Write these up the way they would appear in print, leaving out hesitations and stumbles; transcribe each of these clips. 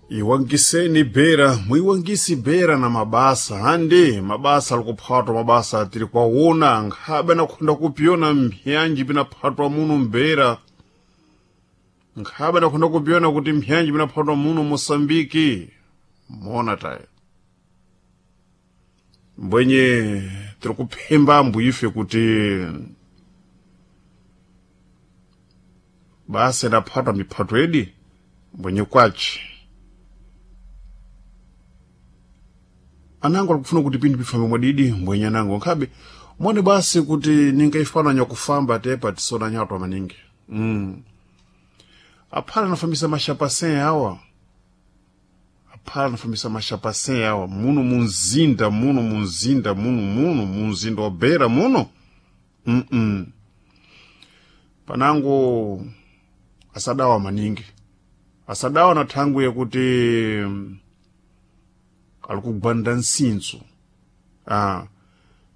Iwangiseni bera, muiwangisi bera na mabasa handi mabasa alikuphatwa mabasa tiri kwaona nkhabe nakhonda kupyona mphyanji pinaphatwa muno mbera, nkhabe nakhonda kupyona kuti mphyanji pinaphatwa muno Mosambiki mona tayo mbwenye tiri kuphemba ambu ife kuti basa idaphatwa miphato edi mbwenye kwaci anango alikufuna kuti pinthu pifambe mwadidi mbwenye anango nkhabe mone basi kuti ningaifana kufamba tepa tisona nyatwa maningi. Aphala anafambisa mashapasen awa, aphala anafambisa mashapasen awa muno munzinda, muno munzinda, muno muno munzinda wa Beira muno. Panango asadawa maningi, asadawa na thangwi yakuti alikugwanda nsinso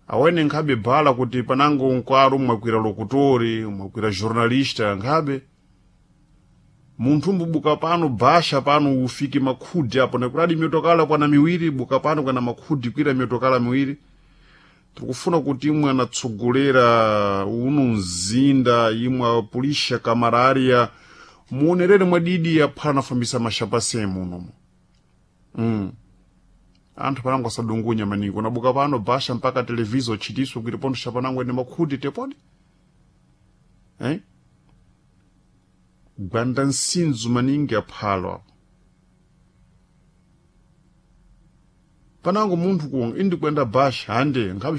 awene nkhabe bhala kuti panango nkwaro mwakwira lokutori, mwakwira jornalista, nkhabe munthu mbubuka pano basha pano ufike makhudi apo nakuradi mitokala kwana miwiri, buka pano kwana makhudi kwira mitokala miwiri. Tikufuna kuti imwe anatsogolera uno mzinda, imwe apulisha kamararia, muonerere mwadidi aphala anafambisa mashapase munomo. Anthu panango asadungunya maningi, unabuka pano basha mpaka televizo chitiso kuti pondo shapanango ene makhudi tepodi, eh? Gwanda nsinzu maningi aphalo apo panango munthu ku indi kwenda basha hande nkhabe.